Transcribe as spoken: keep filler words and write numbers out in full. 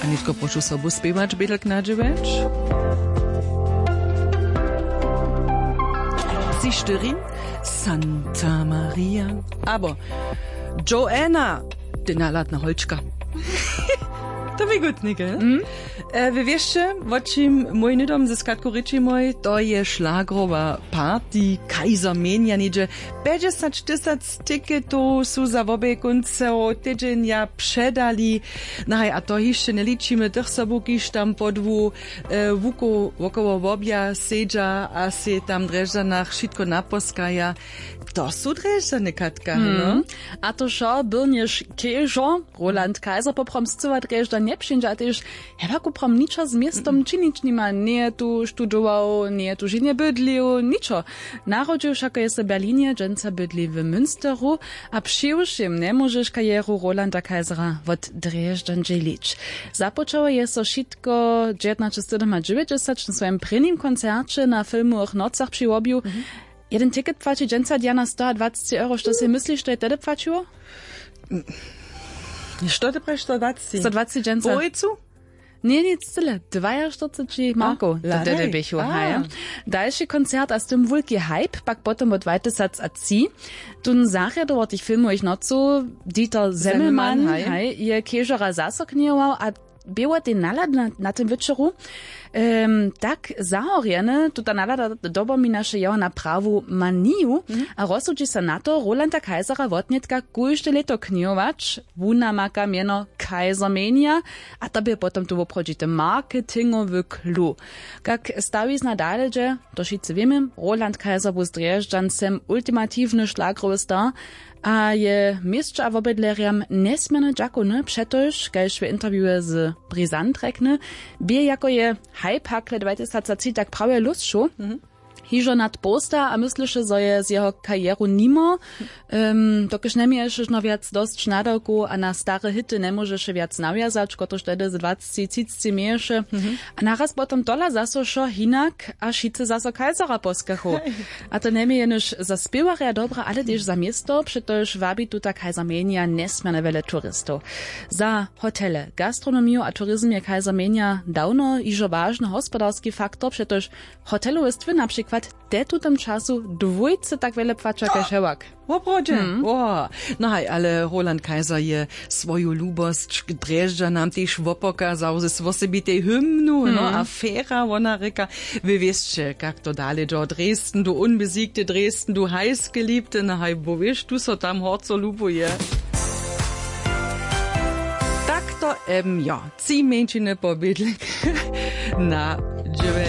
A nětko prošu sobu spěwać, bědlk na dźewjeć. Tři štyri, Santa Maria, abo Joanna, ty naladna holčka. To bě gutnike. Mm. E, vy wěsće, wo čim mój hnydom ze skatku rěči mój, to je šlagrowa party, kajzer mjenja něhdźe. Pjećdźesać tysac tiketow su za wobě kónceho tydźenja předali. Nahaj, a to hišće njeličimy tych sobu, kiž tam podłu, e, wukoł wokoło wobja sedźa a sej tam w drježdźanach wšitko naposkaja. To su drježdźany, Katka, no. Mhm. A to wšo byrnješ kežo, Roland Kaiser poprawom scyła drježdźa njepřińdźa a tež, hewak poprawom ničo z městom činić nima, njeje tu studował, njeje tu ženje bydlił, ničo. Narodźił wšako je so w Berlinje, dźensa bydli w Münsteru. A přiwšěm njemóžeš karjeru Rolanda Kaisera wot drježdźan dźělić. Započało je so wšitko dźewjatnaće sydomadźewjećdźesać na swojim prěnim koncerće na filmowych nocach při wobju. Jeden ticket płaći dźensa, Diana, stoadwaceći euro. Što sej mysliš, što je tehdy płaćiło? Što ty prajiš, stoadwaceći? Stoadwaceći dźensa. Połojcu? Ně, nic cyle, dwajaštyrceći markow. To tehdy běchu, haj. Dalši koncert a z tym wulki hype pak potom wot dwatysacatři. Tón zarjadował tych filmowych nocow, Dieter Semmelmann, haj, je kežora zaso kněhował a bě wot tej nalady na, na tym wječoru, em, tak zahorjeny, tuta nalada dopominaše jeho na prawu maniju a rozsudźi so na to, Rolanda Kaisera wotnětka kóžde lěto kněhować. Wón namaka mjeno Kaiser Mania a to bě potom tu woprawdźity marketingowy clou. Kak stawizna dale dźe, to wšitcy wěmy, Roland Kaiser bu z drježdźancem ultimatiwny šlagrowy star a je měsće a wobydlerjam njesměrnje dźakowny, přetož, kaž w interviewje z Brisant rjekny, bě jako je hype hakle dwatysacatři tak prawje lósćow. Hižo nad połsta a mysleše, zo je z jeho karjeru nimo, em, dokelž njeměješe žno wjac dosć nadawkow a na stare hity njemóžeše wjac nawjazać, kotryž tehdy z dwacci třiceći měješe. A naraz potom tola zaso wšo hinak a wšitcy zaso Kaisera poskachu. A to njemě jenož za spěwarja dobre, ale tež za město, přetož wabi tuta Kaiser Mania njesměrnje wjele turistow. Za hotele, gastronomiju a turizm je Kaiser Mania dawno hižo wažny hospodarski faktor, přetož hotelowe stwy na přikład te w tutym času dwójce tak wjele płaća kaž hewak. Woprawdźe? Wo. No haj, ale Roland Kaiser je swoju lubosć k drježdźanam tež wopokazał z wosebitej hymnu, no, afera, wona rěka. Wy wěsće, kak to dale dźo: Dresden, du unbesiegte, Dresden, du heißgeliebte. No haj, bo wěš, tu so tam horco lubuje. Tak to em jo. Tři mjeńšiny po bědlek na dźewjeć.